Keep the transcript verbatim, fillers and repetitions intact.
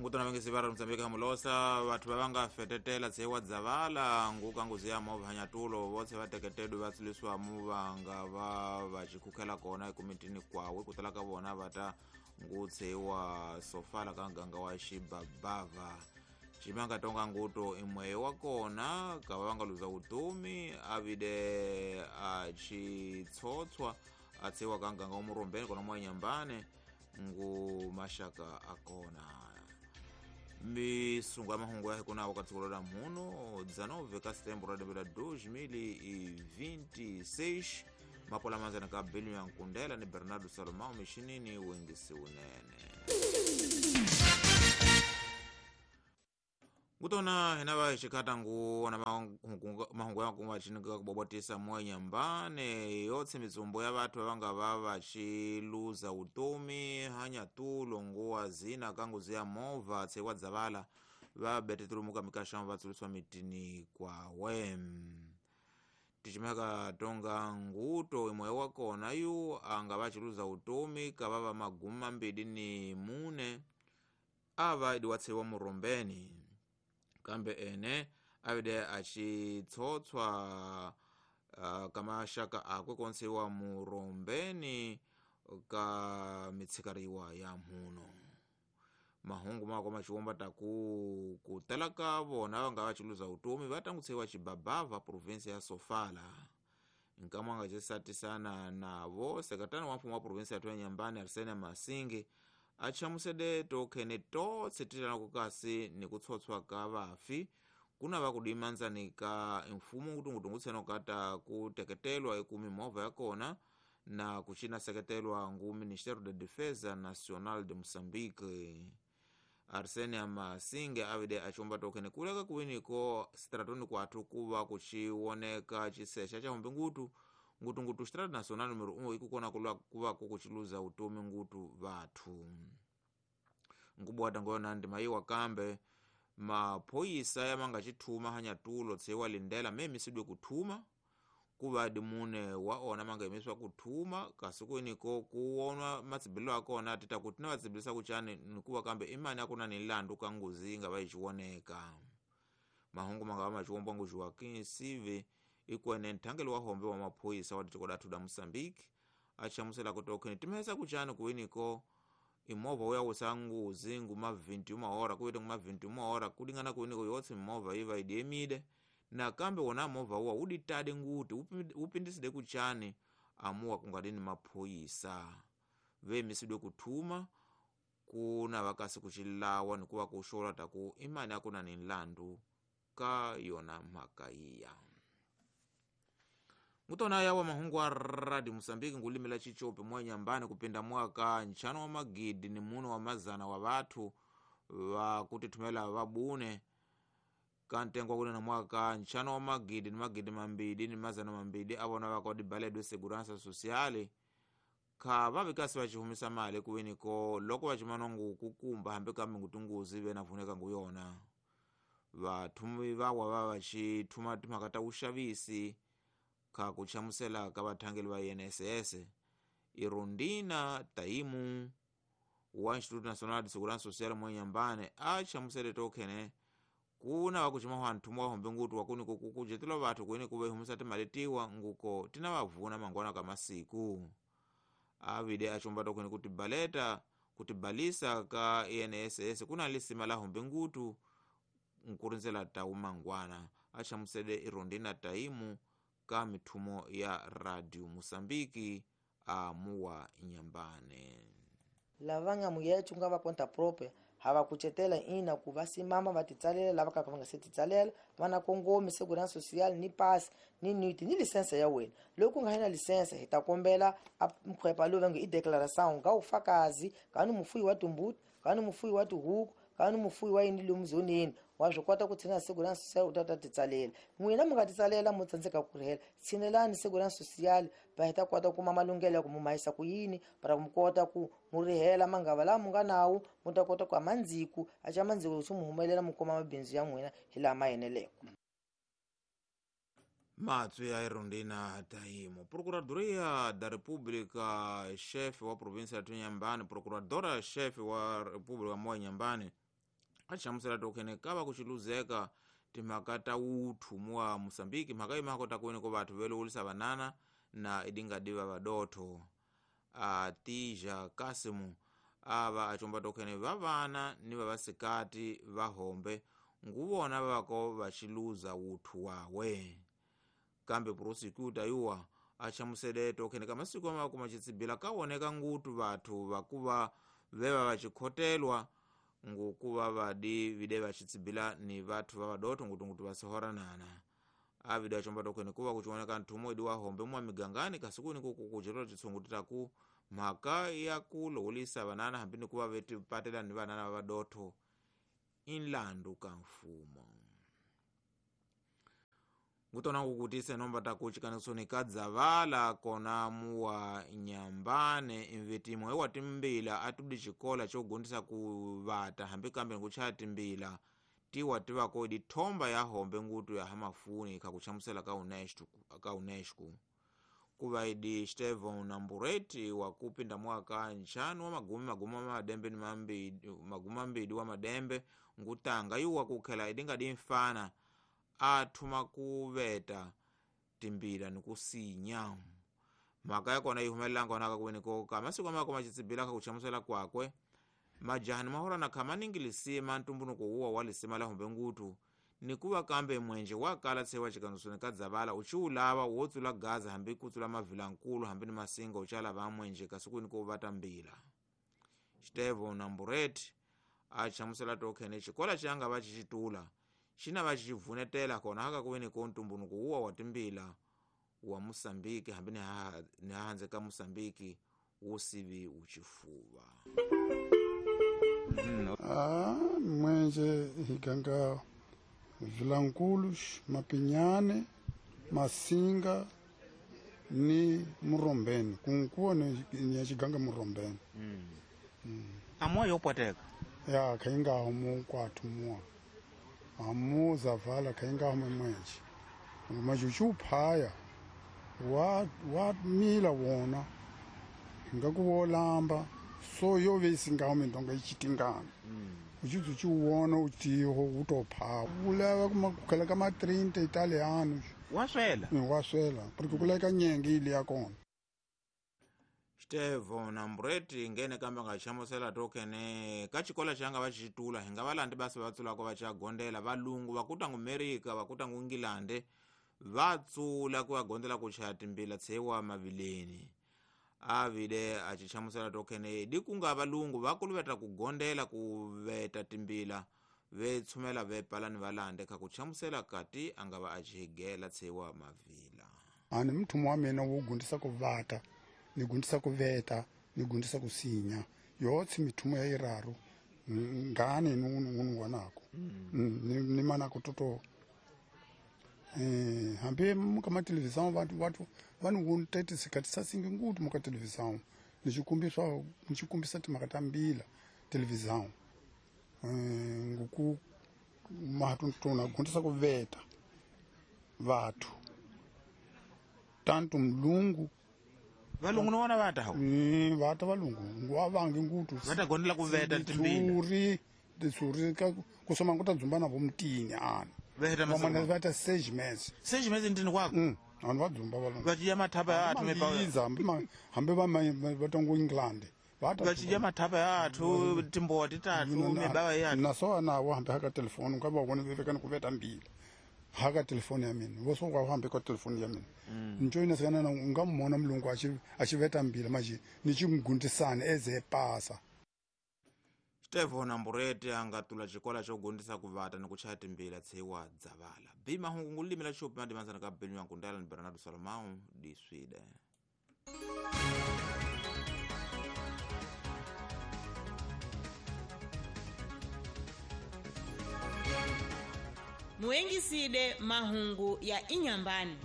Ngutona vengesi va Mozambique hamulosa vathu va nga fetetela tsewa dzavala nguka nguzi ya movha nyatulo votse va teketedwe va tsiliswa muvanga va va chikhukhela kona ekumitini kwawe kutala ka vona va ta ngutsewa sofala ka nganga wa xibabava ximanga tonga nguto imwe wa kona ka va nga luza vutomi avide a xitshotswa a tsewa ka nganga wa Murombeni kona mwa Nyambane ngu mashaka akona misungu ya mahungu ya hikuna wakati la muno dezenove ka setembro de dois mil e vinte e seis mapola manzana ka Belio ya Nkundela ni Bernardo Salomão mishinini wengisi unene ngutona hinava xikata ngu na mahungu ya kuma chinika kubobotisa mwa Nyambane yotse mitsumbo ya vathu va nga va va xiluza utomi hanyatulo nguwa zina kanguzi ya movha tsewa dzavala va betetulumuka mikaxamo va tsuliswa mitini kwawe tichimaka tonga nguto imwe wa kona yu anga va xiluza utomi ka va va magumu mambili ni mune ava idi wa tsewa Murombeni kambe ene avide achitsotswa uh, kamashaka akwe konsewa Murombeni ka mitsikariwa ya mhuno mahungu mako machiwomba taku kutala ka vona va nga va chiluza utomi va tangutsewa Chibabava provinsi ya Sofala nkamwa nga chisatisana navo sekretari wa mfumo wa provinsi ya Thuya Nyambane Arsene Masingi achamusede tokhene totse titana kukasi ni kutsotswa ka vafi kuna va kudimanzani ka mfumo kutungutungutsena kata kuteketelwa ikumi movha ya kona na kuchina seketelwa ngu Ministério da Defesa Nacional de Moçambique Arsene Masinge avide achomba tokhene kuleka kuwiniko stratoni kwathu kuva kuchiwoneka chisexa cha hombe ngutu ngutungutu Estrada Nacional número um ikukona kulwa kuva kukuchiluza utomi ngutu vathu nkubwata ngona ndi mayiwa kambe maphoyisa yamanga chithuma hanyatulo tsewa lindela memisidwe kuthuma kuva dimune wa ona manga imiswa kuthuma kasi kuiniko kuwonwa matsibilo akona tita kuti na vatsibilisa kuchani nikuva kambe imani akuna ni landu ka nguzi inga va ichiwoneka mahungu manga va machiwombwa ngu Joaquim Sive ikwene nthangelo wa hombe wa maphoyisa wa tiko lathu la Moçambique achamusela kutokheni timesa kuchani kuwiniko imovha uya usa nguzi nguma vinte e uma hora kuite nguma vinte e uma hora kulingana kuwiniko yotse movha iva idiemide na kambe wona movha uwa uditade nguti upindiside kuchani amuwa kungadini maphoyisa vemisidwe kuthuma kuna vakasi kuchilawa nikuva kuxola taku imani akuna ni nlandu ka yona mhaka iya mutona yawa mahungu a Radio Mozambique ngulimela chichope mwa Nyambane kupinda mwaka nchano wa magidi ni muno wa mazana wa vathu va kutithumela vabune kantengwa kunena mwaka nchano wa magidi ni magidi mambili ni mazana mambili avona vakodibaledwe segurança sociale kha vavikasi vachihumisa mali kuwiniko loko vachimana ngu kukumba hambi kambe ngutunguzi ve navuneka nguyona vathumi vawa va vachithuma timhaka ta vuxavisi kha kuchamusela ka vathangeli va I N S S Irondina Taimu wa Instituto Nacional de Segurança Social mwa Nyambane a chamusele tokhene kuna vakuchima hwanthu wa hombe ngutu wakuni kukujetela vathu kuini kuve humisa timali tiwa nguko tina vavuna mangwana ka masiku avide achomba tokhene kuti baleta kuti balisa ka I N S S kuna lisima la hombe ngutu nkurinzela tau mangwana achamusele Irondina Taimu ka mithumo ya Radio Mozambique a muwa Nyambane lavanga muyechu nga va conta própria hava kucetela ina ku va simama va titsalela lava ka va nga se titsalela va na kongomi segurança social ni pass ni niti ni lisensa ya wena loko nga na lisensa hi ta kombela a mkhwepa lowu va nge i declaração nga ufakazi ka ni mufuyi wa timbuti ka ni mufuyi wa tihuku ka ni mufuyi wa yini lomu zoneni wa swi kota ku tshina segurança social u ta ta titsalela n'wina mi nga titsalela mo tsandzeka ku rihela tshinelani segurança social va hi ta kota ku kuma malunghelo ya ku mu mahisa ku yini para mu kota ku mu rihela mangava lawa mu nga nawo mu ta kota ku amandziku a xa mandziku swi mu humelela mu kuma mabindzu ya n'wina hi laha ma eneleke. Matswi ya Irondina Taimu. Procuradoria da República, chefe wa província ya Nyambane, procuradora chefe wa República mwa Nyambane Achamusela tokhene kava kuchiluzeka timhaka ta uthu muwa Mosambiki mhaka imako takuene ko vathu velowulisa vanana na idingadiva vadotho. Atija Kasimu ava achomba tokhene vavana ni vavasikati vahombe nguvona vavako vachiluza uthu wawe. Kambe prosecutor yuwa achamusele tokhene kamasiku amako machitsibila kaoneka ngutu vathu vakuva veva vachikhotelwa ngukuva vadi vide vachitsibila ni vathu vavadotho ngutungutu vasihoranana. Avide achomba tokhene kuva kuchioneka nthumo idi wahombe mwa migangani kasikuni kukukuchelela chitsungu titaku mhaka ya kulowulisa vanana hambi ni kuva vetipatela ni vanana vavadotho inlandu ka mfumo. Ngutona kukutise nomba takuchikanisoni kadzavala kona muwa Nyambane imvetimo ewa timbila atudi chikola chogundisa kuvata hambi kambe nkuchaya timbila tiwa tivako idi thomba ya hombe ngutu ya hamafuni kakuchamusela ka UNESCO ka UNESCO. Kuva idi Steven Nambureti wakupinda mwaka nchanu wa magumi magumi madembe ni mambidi magumi mambidi wa madembe ngutanga yuwa kukhela idinga dimfana athuma kuveta timbila nikusinya. Mhaka yakona ihumelelanga onaka kuweneko kamasiku amako machitsibila kakuchamusela kwakwe majahani mahorana khamaningi lisima ntumbunuko uwa wa lisima la hombe ngutu nikuva kambe mwenje wakala tsewa chikanusoni kadzavala uchiulava wotsula gaza hambi kutsula mavilankulu hambi ni masinga uchala va mwenje kasiku uvata mbila. Steven Nambureti achamusela tokhene chikola changa vachichitula china vachivunetela kona haka kuweneko ntumbunuko uwa wa timbila wa Mosambiki hambi ni hahanze ka Mosambiki usivi uchifuva. Mm. Ah, mwenje higanga vilankulu, mapinyane, masinga ni murombeni. Kunkuwa ni yachiganga murombeni. Mm. Mm. Amwa yopwateka? Ya, kainga homu kwa tumua. Amu zavala kainga homu mwenje. Majuchu phaya wa wa mila wona ngakuwolamba so yovesinga homu ndonga ichitingana. Mm. Uchizu chiwona utiho utopha ulava kumakhala kama trinta italiano waswela waswela porque kuleka nyenge ile yakona. Steven Nambureti ngene kamba ngachamusela tokene kachikola changa vachitula hinga valandi basi vatsulako vachagondela valungu vakuta ngu Amerika vakuta ngu England vatsula kuya kuchaya timbila tsewa mavileni. Avide achichamusela tokene dikunga valungu vakuluveta kugondela kuveta timbila vetsumela vepalani valande kakuchamusela kati angava achihigela tsewa mavila. Ani mthumo wa mina wo gundisa kuvata ni gundisa kuveta ni gundisa kusinya yotsi mithumo ya iraru ngane nunu wanako mm. ni, ni mana kutoto eh hambe muka televisão vantu vantu vanhu wontete sikati sasingi ngutu muka televisão nichikumbiswa nichikumbisa timakatambila televisão eh nguku matu tona gundisa kuveta vathu tantu mlungu valungu nona vata hawo mm vata valungu ngwavangi ngutu vata gondela kuveta timbila turi tisuri ka kusoma nguta dzumba navo mutini ana veta masana vata seis meses seis meses ndini kwako mm vanhu vadzumba valungu vachidya mathapa ya athu mepa hambe va vatongo England vata vachidya mathapa ya athu timbowa titatu mibawa ya athu naso nawo hambe haka telefoni ka va vona vekani kuveta mbila haka telefoni ya mina voso kwa hambe ka telefoni ya mina njoyina sikana na nga mona mulungu achi achiveta mbila maji nichimgundisana eze pasa. Steven Nambureti angatula chikola chogundisa kuvata nikuchaya timbila tsewa dzavala. Bima hungu ngulimila chupi madimanzana ka Benyu Nkundala ni Bernardo Salomão di Sweden. Muengiside mahungu ya Inyambani.